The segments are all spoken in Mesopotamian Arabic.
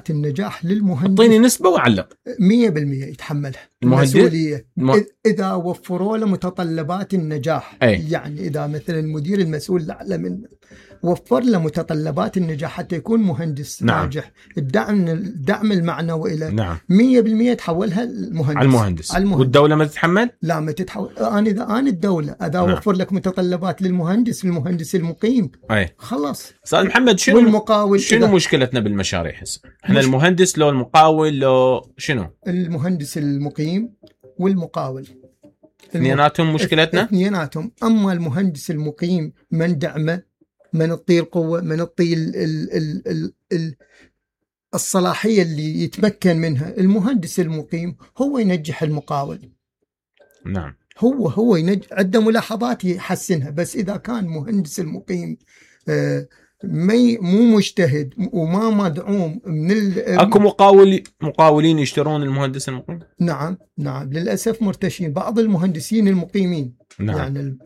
النجاح للمهندس. اعطيني نسبة وعلق. 100% يتحملها المسؤولية إذا وفروا له متطلبات النجاح. يعني إذا مثلا المدير المسؤول الأعلى منه وفر له متطلبات النجاح حتى يكون مهندس ناجح، الدعم المعنوي له 100% تحولها المهندس. والدولة ما تتحمل؟ لا ما تتحول. أنا الدولة إذا وفر لك متطلبات للمهندس المقيم خلاص. أستاذ محمد شنو مشكلتنا بالمشاريع هسه؟ احنا المهندس لو المقاول لو شنو؟ المهندس المقيم والمقاول اثنيناتهم مشكلتنا؟ اثنيناتهم. أما المهندس المقيم من دعمه، من الطي القوة، من الطي الصلاحية اللي يتمكن منها. المهندس المقيم هو ينجح المقاول. نعم. هو عنده ملاحظات يحسنها، بس إذا كان مهندس المقيم مو مجتهد وما مدعوم من اكو مقاولين يشترون المهندس المقيم. نعم للأسف مرتشين بعض المهندسين المقيمين. يعني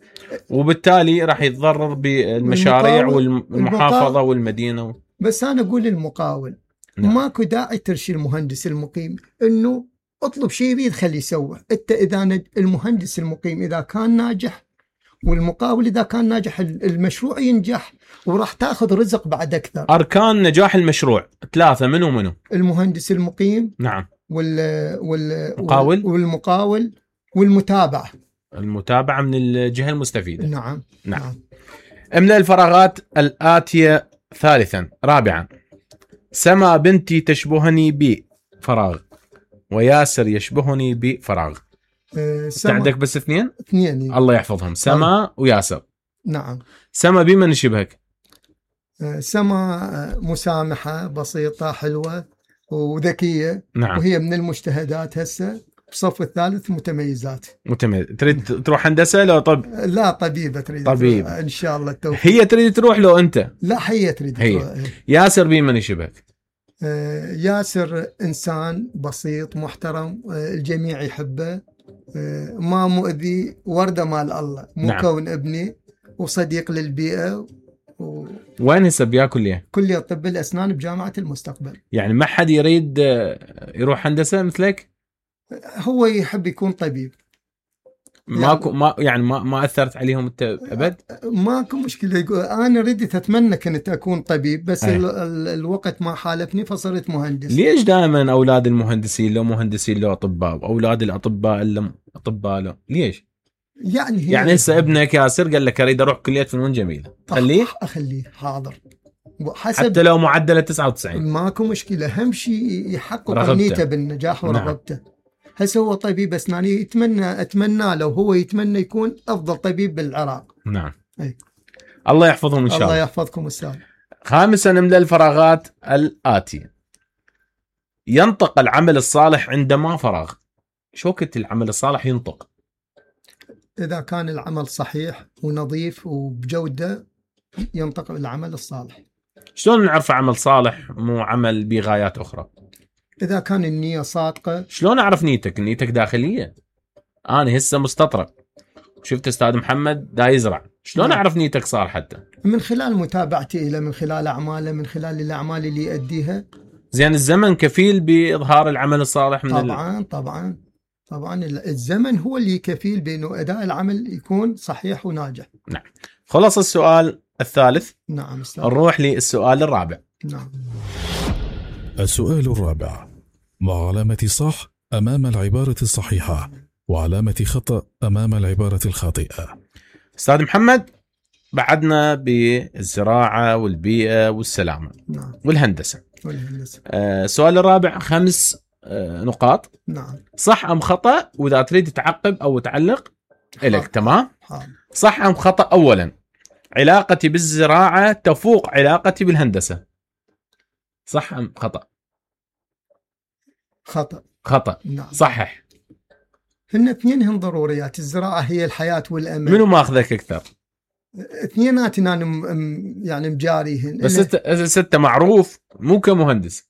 وبالتالي راح يتضرر بالمشاريع والمحافظة والمدينة. بس أنا أقول المقاول ماكو داعي ترشي المهندس المقيم إنه اطلب شيء يريد خليه يسوي. انت اذا المهندس المقيم اذا كان ناجح والمقاول اذا كان ناجح المشروع ينجح وراح تاخذ رزق بعد اكثر. اركان نجاح المشروع 3 منو؟ المهندس المقيم. نعم. والمقاول والمتابعة. المتابعة من الجهة المستفيدة. نعم. املأ الفراغات الآتية. ثالثا. رابعا. سما بنتي تشبهني بفراغ وياسر يشبهني بفراغ. عندك بس اثنين الله يحفظهم، سما وياسر. نعم. سما بمن يشبهك؟ سما مسامحة بسيطة حلوة وذكية. نعم. وهي من المجتهدات هسه بصف الثالث متميزات. تريد تروح هندسة لو لا طبيبة تريد. طبيب ان شاء الله التوفيق. هي تريد تروح لو انت؟ لا هي تريد تروح. ياسر بمن يشبهك؟ ياسر إنسان بسيط محترم، الجميع يحبه، ما مؤذي، وردة مال الله، مو كون ابني، وصديق للبيئة. وين هسه بياكل كلية طب الأسنان بجامعة المستقبل. يعني ما حد يريد يروح هندسة مثلك؟ هو يحب يكون طبيب. ماكو ما أثرت عليهم انت ابد؟ ماكو مشكله. انا رديت اتمنى كنت اكون طبيب بس الوقت ما حالفني فصرت مهندس. ليش دائما اولاد المهندسين لو مهندسين لو اطباء واولاد الاطباء الا اطباء لو ليش؟ يعني هسه ابنك ياسر قال لك اريد اروح كليه فنون جميله، اخليه حاضر حتى لو معدله 99 ماكو مشكله. اهم شيء يحقق نيته بالنجاح ورغبته. نعم. هسه هو طبيب أسنان أتمنى لو هو يتمنى يكون أفضل طبيب بالعراق. نعم. الله يحفظهم إن شاء الله. الله يحفظكم أستاذ. خامسا املأ الفراغات الآتية. ينطق العمل الصالح عندما فراغ. شو وقت العمل الصالح ينطق؟ إذا كان العمل صحيح ونظيف وبجودة ينطق العمل الصالح. شلون نعرف عمل صالح مو عمل بغايات أخرى؟ إذا كان النية صادقة. شلون أعرف نيتك داخلية؟ أنا هسه مستطرق شفت أستاذ محمد دا يزرع، شلون أعرف نيتك صار؟ حتى من خلال متابعتي إلى، من خلال أعماله، من خلال الأعمال اللي يؤديها. زين الزمن كفيل بإظهار العمل الصالح من طبعا الزمن هو اللي كفيل بأنه أداء العمل يكون صحيح وناجح. نعم. خلص السؤال الثالث. نعم أستاذ. نروح للسؤال الرابع. نعم. السؤال الرابع: مع علامة صح أمام العبارة الصحيحة وعلامة خطأ أمام العبارة الخاطئة. أستاذ محمد، بعدنا بالزراعة والبيئة والسلامة. نعم. والهندسة. السؤال الرابع 5 نقاط. نعم. صح أم خطأ؟ وإذا تريد تعقب أو تعلق إليك. تمام. صح أم خطأ؟ أولا، علاقتي بالزراعة تفوق علاقتي بالهندسة. صح أم خطأ؟ خطأ. نعم. صحح. هن اثنينهم ضروريات. الزراعة هي الحياة والأمل. منو ماخذك أكثر؟ اثنيناتنا يعني مجاريهن. بس انت معروف مو كمهندس.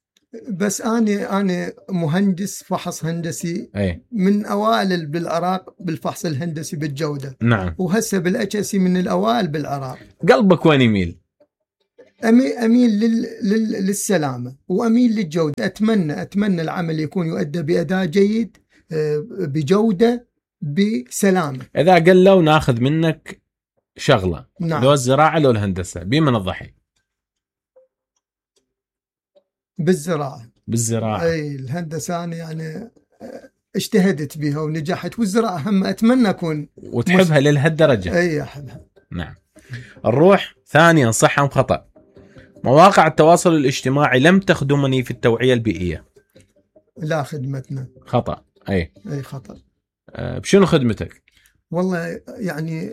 بس أنا مهندس فحص هندسي. من أوائل بالعراق بالفحص الهندسي بالجودة. نعم. وهسه بالأجهزة من الأوائل بالعراق. قلبك وين يميل؟ اميل للسلامه واميل للجوده. اتمنى العمل يكون يؤدى باداء جيد بجوده بسلامه. اذا قلوا ناخذ منك شغله، نعم. لو الزراعه لو الهندسه، بمن الضحي؟ بالزراعه. اي الهندسه انا يعني اجتهدت بها ونجحت، والزراعه هم اتمنى اكون وتحبها للهالدرجه. اي احبها. نعم. نروح ثانيا، صح ام خطا؟ مواقع التواصل الاجتماعي لم تخدمني في التوعيه البيئيه. لا، خدمتنا. خطا. اي خطا. بشنو خدمتك؟ والله يعني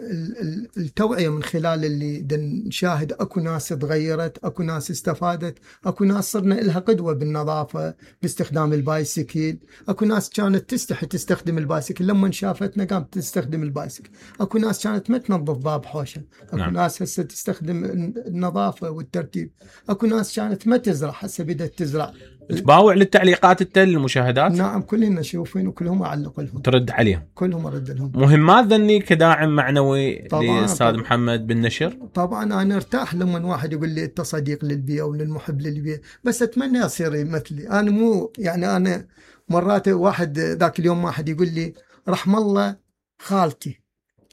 التوعية من خلال اللي نشاهد اكو ناس تغيرت، اكو ناس استفادت، اكو ناس صرنا لها قدوة بالنظافة باستخدام البايسكل، اكو ناس كانت تستحي تستخدم البايسكل لما شافتنا قامت تستخدم البايسكل، اكو ناس كانت ما تنظف باب حوشة، اكو نعم. ناس هسه تستخدم النظافة والترتيب، اكو ناس كانت ما تزرع هسه بدأت تزرع. تباوع للتعليقات المشاهدات؟ نعم، كلنا نشوفين وكلهم اعلق لهم، ترد عليهم كلهم ارد لهم. مهمات ذني كداعم معنوي للاستاذ محمد بالنشر. طبعا انا ارتاح لما واحد يقول لي انت صديق للبيئه وللمحب للبيئه، بس اتمنى يصير مثلي. انا مو يعني انا مرات واحد ذاك اليوم واحد يقول لي رحم الله خالتي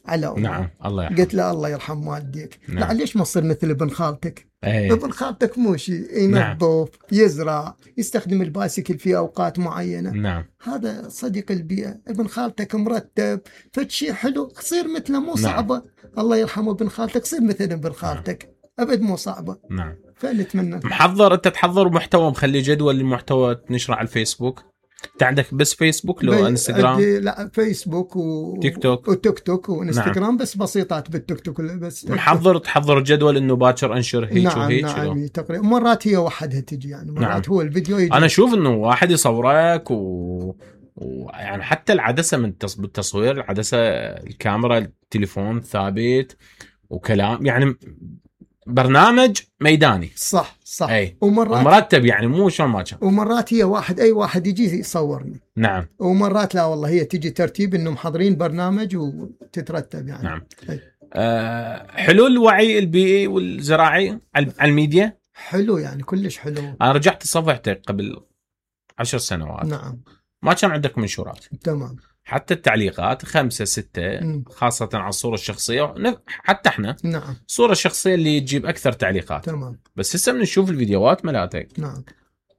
على أمه. نعم، الله يرحمه. قلت له الله يرحم والديك. نعم. لا ليش ما تصير مثل ابن خالتك؟ ابن خالتك مو شيء ينظف. نعم. يزرع، يستخدم البايسكل في اوقات معينه. نعم. هذا صديق البيئه. ابن خالتك مرتب فشي حلو، صير مثله، مو صعبه. نعم. الله يرحمه ابن خالتك، صير مثل ابن خالتك. نعم. ابد مو صعبه. نعم. فنتمنى. انت تحضر محتوى، مخلي جدول المحتوى تنشره على الفيسبوك؟ انت عندك بس فيسبوك لو انستغرام؟ لا، فيسبوك وتيك توك وانستغرام. نعم. بس بسيطات بالتيك توك بس. تحضر جدول انه باكر انشر هيك. نعم. وهيك. نعم تقريبا. مرات هي وحدها تجي يعني، مرات. نعم. هو الفيديو يجي. انا اشوف انه واحد يصورك يعني حتى العدسه من بالتصوير، العدسه، الكاميرا، التليفون ثابت وكلام، يعني برنامج ميداني. صح. أي. ومرتب، يعني مو شلون ما كان. ومرات هي اي واحد يجي يصورني. نعم. ومرات لا والله هي تجي ترتيب انه محضرين برنامج وتترتب يعني. نعم. حلول الوعي البيئي والزراعي على الميديا حلو يعني، كلش حلو. انا رجعت صفحتك قبل 10 سنوات. نعم. ما كان عندك منشورات. تمام. حتى التعليقات 5 6 خاصة على الصورة الشخصية، حتى احنا. نعم. الصورة الشخصية اللي تجيب أكثر تعليقات. تمام. بس هسه بنشوف الفيديوهات ملاتك. نعم.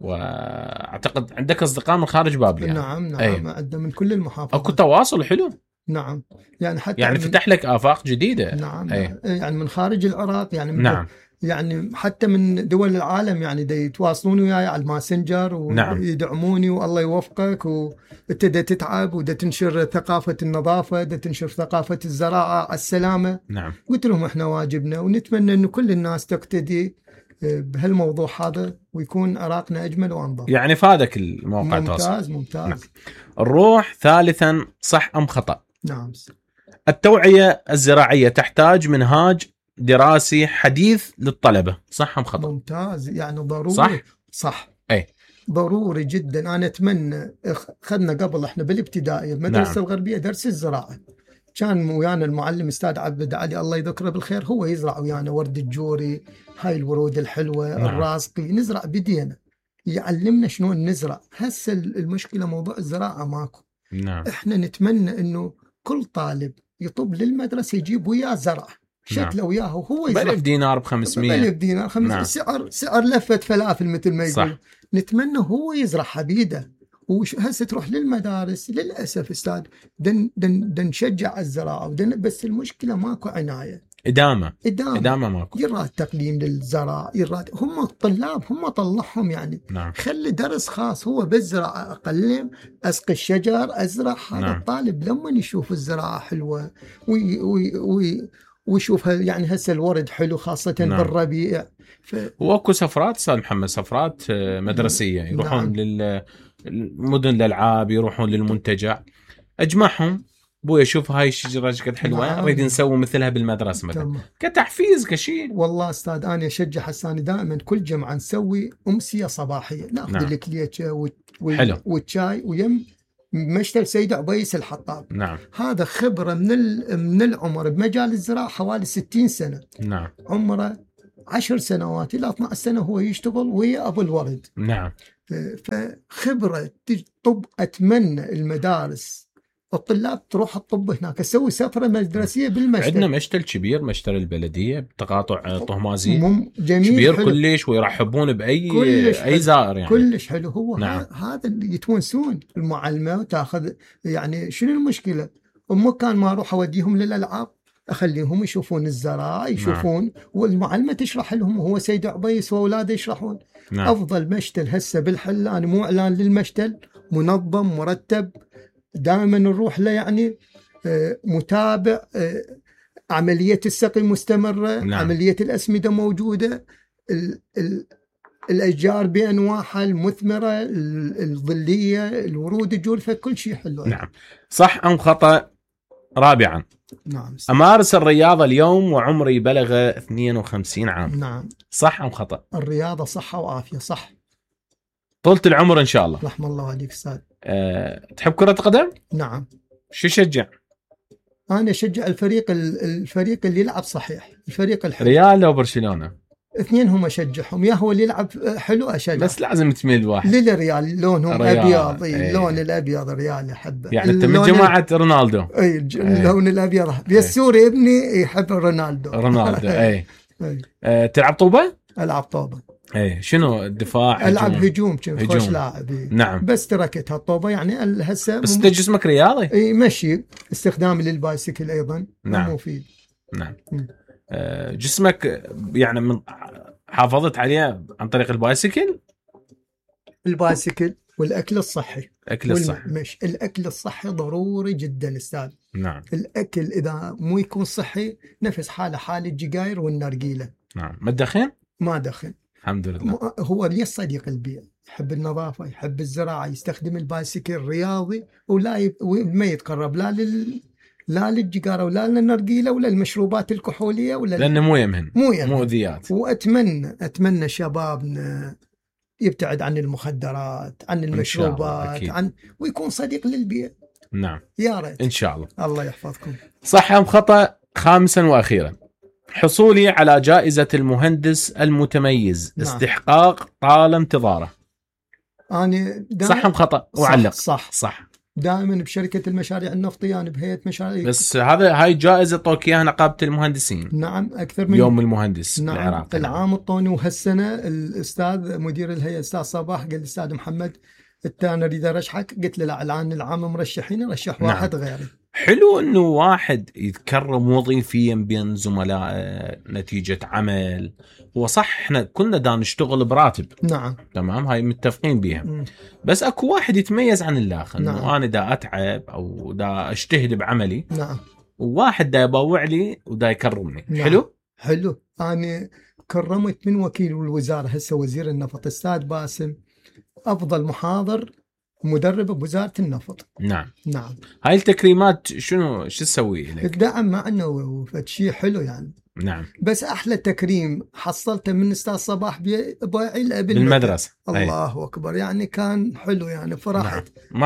وأعتقد عندك أصدقاء من خارج بابل يعني. نعم. عندنا من كل المحافظات. أكو تواصل حلو. نعم. يعني حتى يعني فتح لك آفاق جديدة. نعم. يعني من خارج العراق يعني. نعم. يعني حتى من دول العالم يعني يتواصلون وياي على الماسنجر ويدعموني. نعم. والله يوفقك، وابتدى تتعب ودا تنشر ثقافة النظافة، دا تنشر ثقافة الزراعة على السلامة. نعم. قلت لهم احنا واجبنا، ونتمنى انه كل الناس تقتدي بهالموضوع هذا ويكون عراقنا اجمل وانظف. يعني فادك الموقع التواصل. ممتاز. نعم. نروح ثالثا، صح ام خطأ؟ نعم. التوعية الزراعية تحتاج منهاج دراسي حديث للطلبة، صح ام خطأ؟ ممتاز، يعني ضروري. صح. اي ضروري جدا. انا اتمنى اخذنا قبل احنا بالابتدائي المدرسة الغربية درس الزراعة، كان ويانا المعلم استاذ عبد علي الله يذكره بالخير، هو يزرع ويانا ورد الجوري، هاي الورود الحلوة. الرازقي، نزرع بدينا، يعلمنا شلون نزرع. هسه المشكلة موضوع الزراعة ماكو. نعم. احنا نتمنى انه كل طالب يطب للمدرسة يجيب وياه زرع شكله وياه وهو يزرع. ب1000 دينار ب500. ب1000 دينار 500. نعم. سعر لفة فلافل مثل ما يقول. نتمنى هو يزرعها بيده. وهسه تروح للمدارس للأسف استاذ دن نشجع الزراعة بس المشكلة ماكو عناية. إدامة ماكو. يراد تقليم للزراعة، يراد هم الطلاب هم طلعهم يعني. نعم. خلي درس خاص هو بالزراعة، أقلم، أسقي الشجر، أزرع. هذا نعم. الطالب لما يشوف الزراعة حلوة ويشوفها يعني هسه الورد حلو خاصة نعم. بالربيع. واكو سفرات استاذ محمد، سفرات مدرسية يروحون نعم. للمدن الألعاب، يروحون للمنتجع، أجمعهم بويا شوف هاي الشجرة قد حلوة، نريد نعم. نسوي مثلها بالمدرسة مثلا كتحفيز كشيء. والله أستاذ أنا أشجع حساني دائما كل جمعة نسوي أمسية صباحية، نأخذ نعم. الكليتشة والشاي ويم مشتل سيد عبيس الحطاب. نعم. هذا خبرة من العمر بمجال الزراعة حوالي 60 سنة. نعم. عمره 10 سنوات إلى 12 سنة هو يشتغل ويا أبو الورد. نعم. فخبرة طب. أتمنى المدارس الطلاب تروح الطب هناك، تسوي سفرة مدرسية بالمشتل. عندنا مشتل كبير، مشتل البلدية بتقاطع طهمازي جميل كبير حلو. كلش، ويرحبون بأي زائر يعني. كلش حلو. هو نعم. هذا اللي يتونسون المعلمة وتاخذ يعني. شنو المشكلة؟ مو كان ما أروح أوديهم للألعاب، أخليهم يشوفون الزراعة يشوفون. نعم. والمعلمة تشرح لهم، وهو سيد عبيس وأولاده يشرحون. نعم. أفضل مشتل هسه بالحلان، مو إعلان للمشتل، منظم مرتب دائما نروح له يعني. متابع، عملية السقي مستمرة. نعم. عملية الأسمدة موجودة، الأشجار بأنواعها المثمرة الظلية، الورود الجولفة، كل شيء حلو. نعم. صح أم خطأ؟ رابعا، نعم. أمارس الرياضة اليوم وعمري بلغ 52 عام. نعم. صح أم خطأ؟ الرياضة صحة وعافية. صح. طولة العمر إن شاء الله. رحم الله عليك أستاذ. تحب كرة قدم؟ نعم. شو شجع؟ أنا أشجع الفريق اللي يلعب صحيح، الفريق الحلو. ريال أو برشلونة؟ اثنين هم أشجعهم، يا هو اللي يلعب حلو أشجع، بس لازم تميل واحد. للريال لونهم أبيض. اللون الأبيض ريال يحبه، يعني أنت من جماعة رونالدو. أي اللون الأبيض. السوري ابني يحب رونالدو. أي. تلعب طوبة؟ ألعب طوبة. ايه. شنو الدفاع؟ العب هجوم خوش لاعب. نعم. بس تركتها الطوبة يعني هسه. بس انت جسمك رياضي. اي مشي، استخدامي للبايسكل ايضا. نعم. مفيد. نعم. جسمك يعني من حافظت عليه عن طريق البايسكل والاكل الصحي. الاكل الصحي ضروري جدا استاذ. نعم. الاكل اذا مو يكون صحي نفس حال الجيجاير والنرجيله. نعم. ما تدخن؟ ما دخن الحمد لله. هو لي صديق البيئة، يحب النظافة، يحب الزراعة، يستخدم البايسكل رياضي، وما يتقرب لا للجيجارة ولا للنرجيلة ولا المشروبات الكحولية لأنه مو يمهن مؤذيات. وأتمنى شبابنا يبتعد عن المخدرات، عن المشروبات، ويكون صديق للبيئة. نعم. يا ريت إن شاء الله. الله يحفظكم. صح أم خطأ؟ خامسا وأخيرا، حصولي على جائزة المهندس المتميز. نعم. استحقاق طال انتظاره. أنا صح أم خطأ؟ وعلق. صح. دائما بشركة المشاريع النفطية، أنا بهيئة مشاريع. بس هاي جائزة طوك إياها نقابة المهندسين. نعم. أكثر من يوم المهندس. نعم. العراقي. العام الطوني، وهالسنة الأستاذ مدير الهيئة الأستاذ صباح قال لي أستاذ محمد أنا أريد أرشحك. قلت له لا، الآن العام مرشحين، رشح واحد. نعم. غيري. حلو انه واحد يتكرم وظيفيا بين زملاء نتيجة عمل. هو صح احنا كلنا دا نشتغل براتب. نعم. تمام، هاي متفقين بيها. بس اكو واحد يتميز عن الاخر. نعم. انه انا دا اتعب او دا اجتهد بعملي. نعم. وواحد دا يبوع لي ودا يكرمني. نعم. حلو. انا كرمت من وكيل الوزارة هسه وزير النفط استاذ باسم، افضل محاضر مدرب بوزارة النفط. نعم. هاي التكريمات شو تسوي لك؟ الدعم معنا وشيء حلو يعني. نعم. بس احلى تكريم حصلته من استاذ صباح باعي بالمدرسة. الله اكبر، يعني كان حلو يعني فرحت. نعم.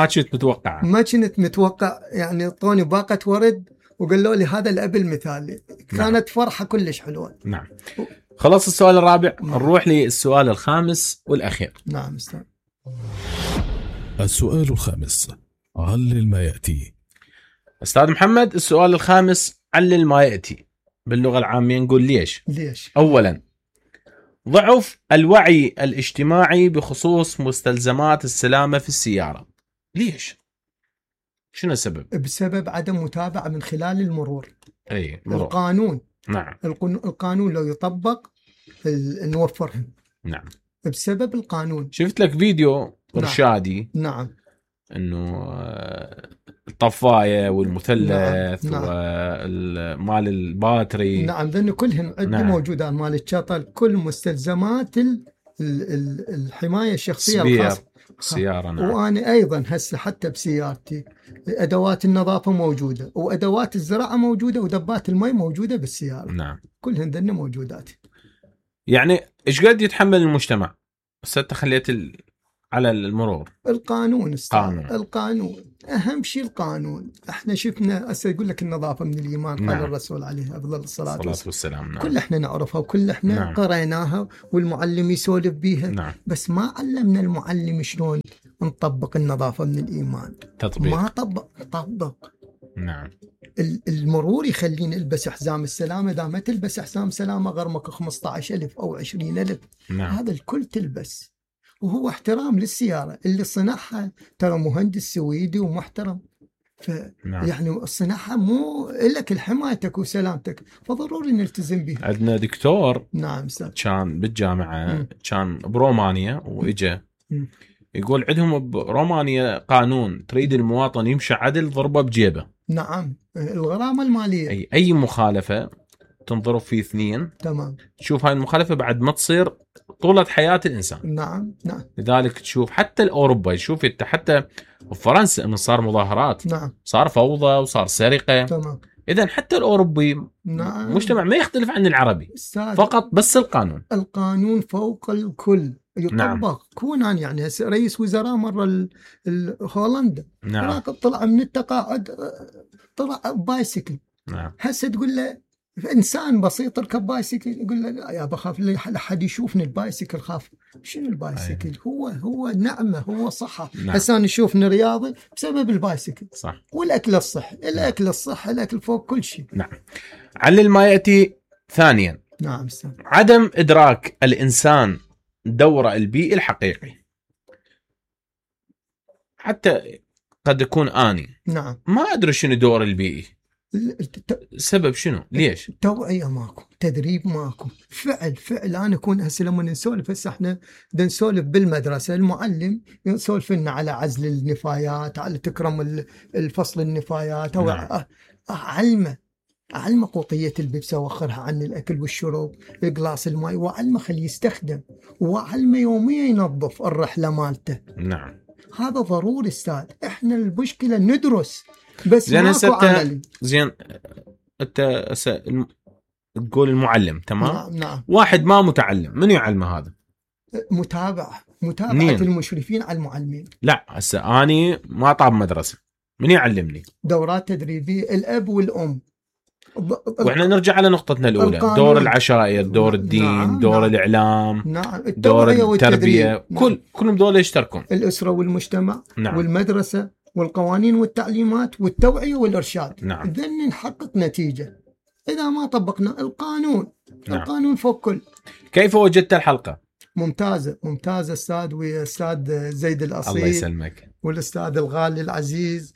ما كنت متوقع يعني طوني باقة ورد وقالوا لي هذا الاب المثالي. كانت نعم. فرحة كلش حلوة. نعم. خلاص السؤال الرابع. نعم. نروح للسؤال الخامس والأخير. نعم استاذ. السؤال الخامس، علل ما يأتي. أستاذ محمد، السؤال الخامس علل ما يأتي. باللغة العامية نقول ليش؟ أولا، ضعف الوعي الاجتماعي بخصوص مستلزمات السلامة في السيارة. ليش؟ شنو السبب؟ بسبب عدم متابعة من خلال المرور. مرور. القانون. نعم. القانون لو يطبق نوفرهم. نعم. بسبب القانون. شفت لك فيديو إرشادي. نعم. إنه الطفاية والمثلث. نعم. ومال الباتري. نعم. لأنه كلهن عندنا. نعم. موجودة مال الشطل، كل مستلزمات الحماية الشخصية الخاصة السيارة. نعم. وأنا أيضا هسه حتى بسيارتي أدوات النظافة موجودة، وأدوات الزراعة موجودة، ودبات الماء موجودة بالسيارة. نعم. كلهن ذن موجودات. يعني إيش قد يتحمل المجتمع؟ بس أنت خليت على المرور. القانون القانون اهم شيء القانون. احنا شفنا يقول لك النظافه من الايمان. نعم. قال الرسول عليه افضل الصلاه والسلام. نعم. كل احنا نعرفها وكل احنا نعم. قريناها والمعلم يسولف بيها. نعم. بس ما علمنا المعلم شلون نطبق النظافه من الايمان. تطبيق. ما طبق. نعم. المرور يخليني البس حزام السلامه. اذا ما تلبس حزام سلامه غرمك 15,000 او 20,000. نعم. هذا الكل تلبس. وهو احترام للسياره اللي صنعها ترى مهندس سويدي ومحترم. نعم. يعني صنعها مو لك لحمايتك وسلامتك، فضروري نلتزم بها. عندنا دكتور نعم استاذ كان بالجامعه كان برومانيا واجا يقول عندهم برومانيا قانون تريد المواطن يمشي عدل ضربه بجيبه. نعم. الغرامه الماليه اي مخالفه تنضرب فيه 2. تمام. تشوف هاي المخالفه بعد ما تصير طولة حياة الإنسان. نعم. لذلك تشوف حتى الأوروبا يشوف انت حتى بفرنسا انه صار مظاهرات. نعم. صار فوضى وصار سرقة. تمام. إذن حتى الأوروبي نعم. مجتمع ما يختلف عن العربي فقط بس القانون فوق الكل يطبق. نعم. كونان يعني رئيس وزراء مرة هولندا. نعم. طلع من التقاعد طلع بايسكل. نعم. هسه تقول له إنسان بسيط ركب بايسكل يقول له يا بخاف لحد يشوفني البايسكل خاف. شنو البايسكل؟ هو نعمة هو صحة. نعم. هسه أنا شوفني رياضي بسبب البايسكل. صح. والأكل الصحي. الأكل الصحي الأكل فوق كل شيء. نعم. علل ما يأتي ثانيا. نعم. عدم إدراك الإنسان دوره البيئي الحقيقي. حتى قد يكون آني نعم ما أدري شنو دور البيئي. السبب شنو؟ ليش؟ توعية ماكو، تدريب ماكو، فعل. أنا أكون هسه لما نسولف هسه إحنا نسولف بالمدرسة المعلم يسولف لنا على عزل النفايات، على تكرم الفصل النفايات، أو نعم. أعلمه قوطية البيبسة وأخرها عن الأكل والشرب، الجلاس الماء، وأعلمه خليه يستخدم، وأعلمه يوميا ينظف الرحلة مالته. نعم. هذا ضروري استاذ. إحنا المشكلة ندرس بس ماكو عملي. زين انت تقول المعلم تمام. نعم. واحد ما متعلم من يعلمه هذا؟ متابعة المشرفين على المعلمين. لا هسه اني ما طاب مدرسة من يعلمني؟ دورات تدريبية الاب والام. واحنا نرجع على نقطتنا الاولى، دور العشائر، دور الدين. نعم. دور نعم. الاعلام. نعم. دور التربية. نعم. كلهم دول يشتركون. الاسرة والمجتمع. نعم. والمدرسة والقوانين والتعليمات والتوعية والإرشاد. نعم. ذن نحقق نتيجة. إذا ما طبقنا القانون. نعم. القانون فوق كل. كيف وجدت الحلقة؟ ممتازة أستاذ، وأستاذ زيد الأصيل. الله يسلمك. والأستاذ الغالي العزيز،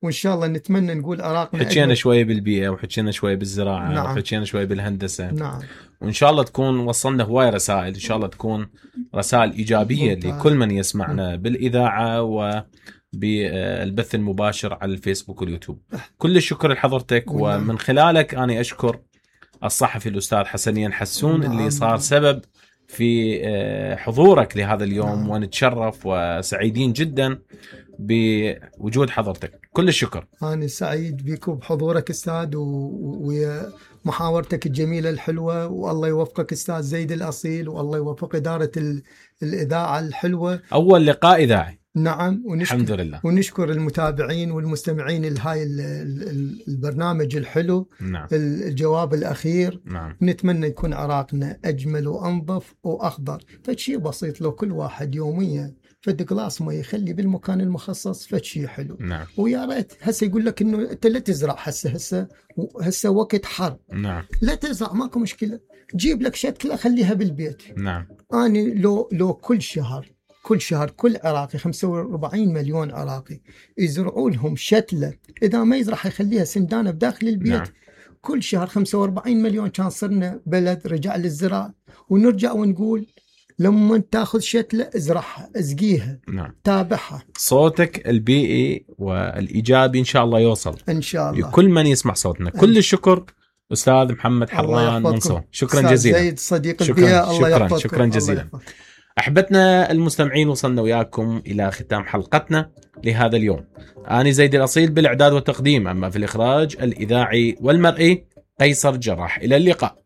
وإن شاء الله نتمنى نقول عراقنا. حكينا شوية بالبيئة، وحكينا شوية بالزراعة. نعم. وحكينا شوية بالهندسة. نعم. وإن شاء الله تكون وصلنا هواي رسائل، إن شاء الله تكون رسائل إيجابية لكل من يسمعنا بالإذاعة وبالبث المباشر على الفيسبوك واليوتيوب. كل الشكر لحضرتك، ومن خلالك أنا أشكر الصحفي الأستاذ حسنين حسون اللي صار سبب في حضورك لهذا اليوم. ونتشرف وسعيدين جدا بوجود حضرتك. كل الشكر. أنا سعيد بكم بحضورك أستاذ ومحاورتك الجميلة الحلوة، والله يوفقك أستاذ زيد الأصيل، والله يوفق إدارة الإذاعة الحلوة. أول لقاء إذاعي. نعم. الحمد لله. ونشكر المتابعين والمستمعين لهاي البرنامج الحلو. نعم. الجواب الأخير. نعم. نتمنى يكون عراقنا أجمل وأنظف وأخضر. فشي بسيط لو كل واحد يوميا فد جلاس ما يخلي بالمكان المخصص فشي حلو. نعم. ويا ريت هسه يقول لك انه انت لا تزرع هسه وقت حر. نعم. لا تزرع ماكو مشكله، جيب لك شتله خليها بالبيت. نعم. انا لو كل شهر كل عراقي 45 مليون عراقي يزرعوا لهم شتله، اذا ما يزرع يخليها سندانه بداخل البيت. نعم. كل شهر 45 مليون كان صرنا بلد رجع للزراعه. ونرجع ونقول لما تاخذ شتله ازرعها، اسقيها. نعم. تابعها. صوتك البيئي والايجابي ان شاء الله يوصل ان شاء الله لكل من يسمع صوتنا. كل الشكر استاذ محمد حران منصور. شكرا جزيلا. زيد صديق البيئه. الله يحفظك. شكرا جزيلا. احبتنا المستمعين، وصلنا وياكم الى ختام حلقتنا لهذا اليوم. انا زيد الاصيل بالاعداد والتقديم، اما في الاخراج الاذاعي والمرئي قيصر جراح. الى اللقاء.